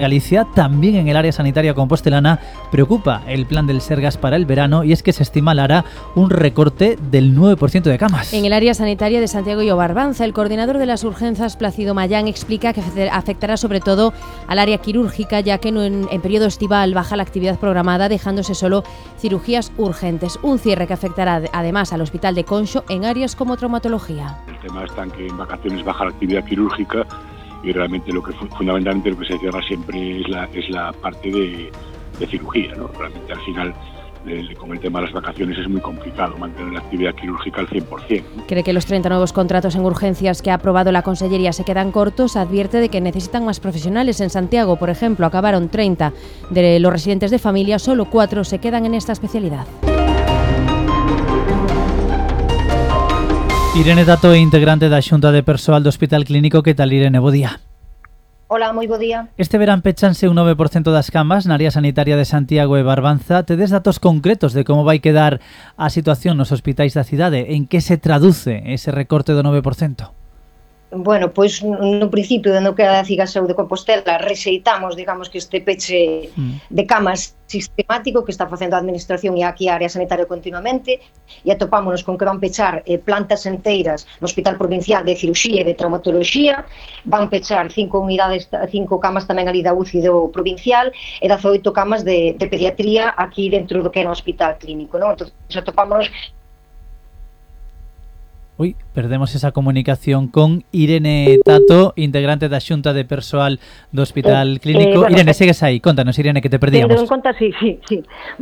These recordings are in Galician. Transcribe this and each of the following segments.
Galicia, también en el área sanitaria compostelana, preocupa el plan del Sergas para el verano y es que se estima, Lara, un recorte del 9% de camas. En el área sanitaria de Santiago y Barbanza, el coordinador de las urgencias, Plácido Mayán, explica que afectará sobre todo al área quirúrgica, ya que en periodo estival baja la actividad programada, dejándose solo cirugías urgentes. Un cierre que afectará además al hospital de Conxo en áreas como traumatología. El tema está en que en vacaciones baja la actividad quirúrgica y realmente lo que fundamentalmente lo que se cierra siempre es la parte de cirugía, ¿no? Realmente al final con el tema de las vacaciones es muy complicado mantener la actividad quirúrgica al 100%, ¿no? Cree que los 30 nuevos contratos en urgencias que ha aprobado la Consellería se quedan cortos. Advierte de que necesitan más profesionales. En Santiago, por ejemplo, acabaron 30 de los residentes de familia, solo 4 se quedan en esta especialidad. Irene Tato, integrante da Xunta de Persoal do Hospital Clínico. Que tal, Irene? Bo día. Hola, moi bo día. Este verán pechanse un 9% das camas na área sanitaria de Santiago e Barbanza. Tedes datos concretos de como vai quedar a situación nos hospitais da cidade? En que se traduce ese recorte do 9%? Bueno, pois no principio de no que a Ciga Saúde de Compostela rexeitamos, digamos, que este peche de camas sistemático que está facendo a administración e aquí a área sanitaria continuamente, e atopámonos con que van pechar plantas enteiras no Hospital Provincial de Cirurxía e de Traumatoloxía, van pechar 5 unidades, 5 camas tamén ali da UCI do Provincial e 18 camas de pediatría aquí dentro do que era o Hospital Clínico, non? Entón, atopámonos. Uy, perdemos esa comunicación con Irene Tato, integrante da Xunta de Persoal do Hospital Clínico. Bueno, Irene, segues aí. Contanos, Irene, que te perdíamos. Tendo en conta, sí.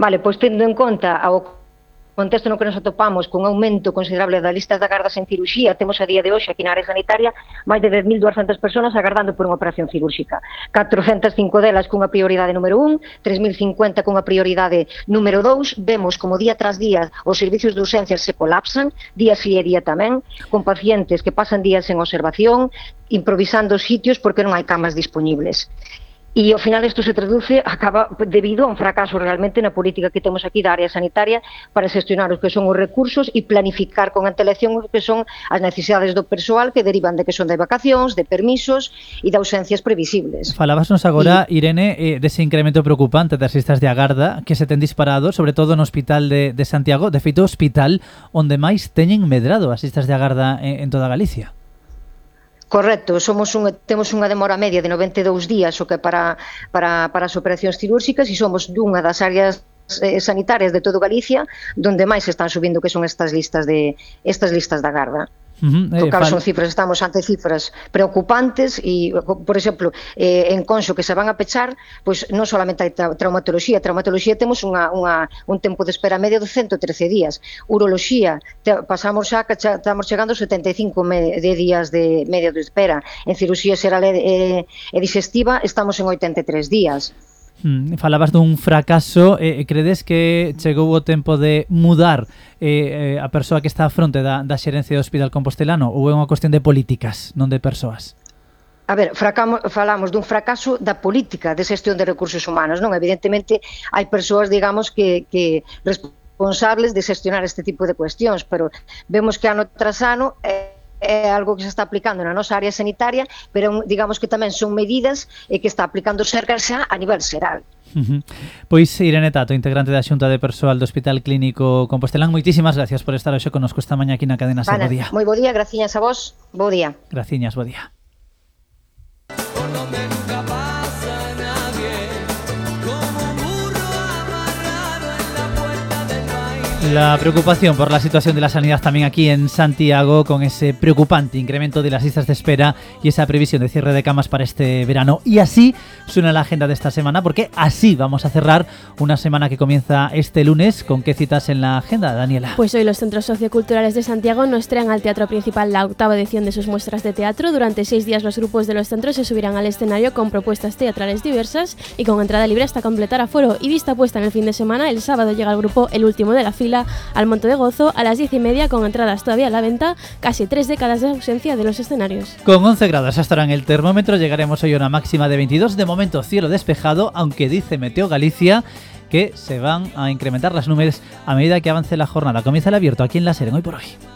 Vale, pois tendo en conta ao contexto no que nos atopamos con aumento considerable das listas de agardas en cirurxía, temos a día de hoxe aquí na área sanitaria máis de 10.200 persoas agardando por unha operación cirúrxica. 405 delas cunha prioridade número 1, 3.050 cunha prioridade número 2. Vemos como día tras día os servicios de urxencias se colapsan, día sí e día tamén, con pacientes que pasan días en observación, improvisando sitios porque non hai camas disponibles. E ao final isto se traduce, acaba debido a un fracaso realmente na política que temos aquí da área sanitaria para xestionar os que son os recursos e planificar con antelación os que son as necesidades do persoal que derivan de que son de vacacións, de permisos e de ausencias previsibles. Falábasnos agora, Irene, dese incremento preocupante das listas de agarda que se ten disparado, sobre todo no Hospital de Santiago, de feito o hospital onde máis teñen medrado as listas de agarda en toda Galicia. Correcto, temos unha demora media de 92 días o que para as operacións cirúrxicas e somos dunha das áreas sanitarias de todo Galicia donde máis están subindo que son estas listas de agarda. Claro, son cifras, estamos ante cifras preocupantes e, por exemplo, en Conxo que se van a pechar, pois non solamente hai traumatoloxía temos un tempo de espera medio de 113 días. Uroloxía, pasamos xa que estamos chegando aos 75 días de medio de espera. En cirurxía xeral e digestiva estamos en 83 días. Falabas dun fracaso, credes que chegou o tempo de mudar a persoa que está á fronte da xerencia do Hospital Compostelano ou é unha cuestión de políticas, non de persoas? A ver, falamos dun fracaso da política de xestión de recursos humanos, non? Evidentemente hai persoas, digamos, que responsables de xestionar este tipo de cuestións, pero vemos que ano tras ano é algo que se está aplicando na nosa área sanitaria, pero digamos que tamén son medidas que está aplicando o Sergas xa a nivel xeral. Pois Irene Tato, integrante da Xunta de Persoal do Hospital Clínico Compostelán, moitísimas gracias por estar hoxe connosco esta mañá aquí na cadena Ser. Bo día. Moi bo día, graciñas a vos, bo día. Graciñas, bo día. La preocupación por la situación de la sanidad también aquí en Santiago, con ese preocupante incremento de las listas de espera y esa previsión de cierre de camas para este verano. Y así suena la agenda de esta semana, porque así vamos a cerrar una semana que comienza este lunes. ¿Con qué citas en la agenda, Daniela? Pues hoy los centros socioculturales de Santiago nos traen al Teatro Principal la 8ª edición de sus muestras de teatro. Durante 6 días los grupos de los centros se subirán al escenario con propuestas teatrales diversas y con entrada libre hasta completar aforo. Y vista puesta en el fin de semana, el sábado llega el grupo El Último de la Fila al Monte de Gozo a las 10:30 con entradas todavía a la venta, casi 3 décadas de ausencia de los escenarios. Con 11 grados hasta ahora en el termómetro, llegaremos hoy a una máxima de 22, de momento cielo despejado, aunque dice Meteo Galicia que se van a incrementar las nubes a medida que avance la jornada. Comienza el abierto aquí en La Ser, en Hoy por Hoy.